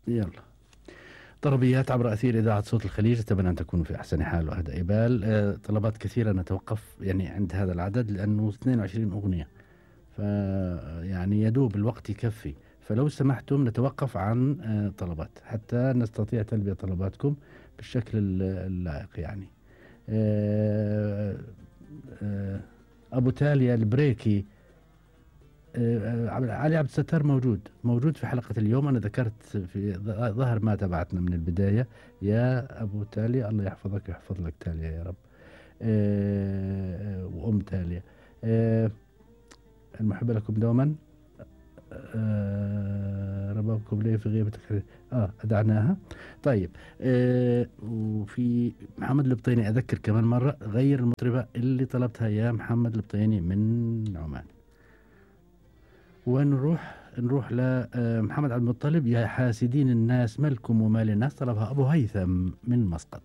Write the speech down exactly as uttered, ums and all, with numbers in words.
يلا. طلبيات عبر أثير إذاعة صوت الخليج، أتمنى أن تكونوا في أحسن حال وأهدى بال. آه، طلبات كثيرة نتوقف يعني عند هذا العدد لأنه اثنين وعشرين أغنية، فيعني يدوب الوقت يكفي، فلو سمحتم نتوقف عن آه، طلبات حتى نستطيع تلبية طلباتكم بالشكل ال- اللائق يعني. آه، آه، أبو تاليا البريكي. آه، آه، علي عبد الستار موجود موجود في حلقة اليوم. أنا ذكرت في ظ- ظهر ما تبعتنا من البداية. يا أبو تاليا الله يحفظك ويحفظ لك تاليا يا رب. آه، آه، وأم تاليا. آه، المحبة لكم دوما. آه، ربابكم لي في غيبتك. اه أدعناها. طيب. آه، وفي محمد البطيني أذكر كمان مرة غير المطربة اللي طلبتها يا محمد البطيني من عمان. ونروح نروح لمحمد عبد المطلب. يا حاسدين الناس ملكم ومال الناس، طلبها أبو هيثم من مسقط.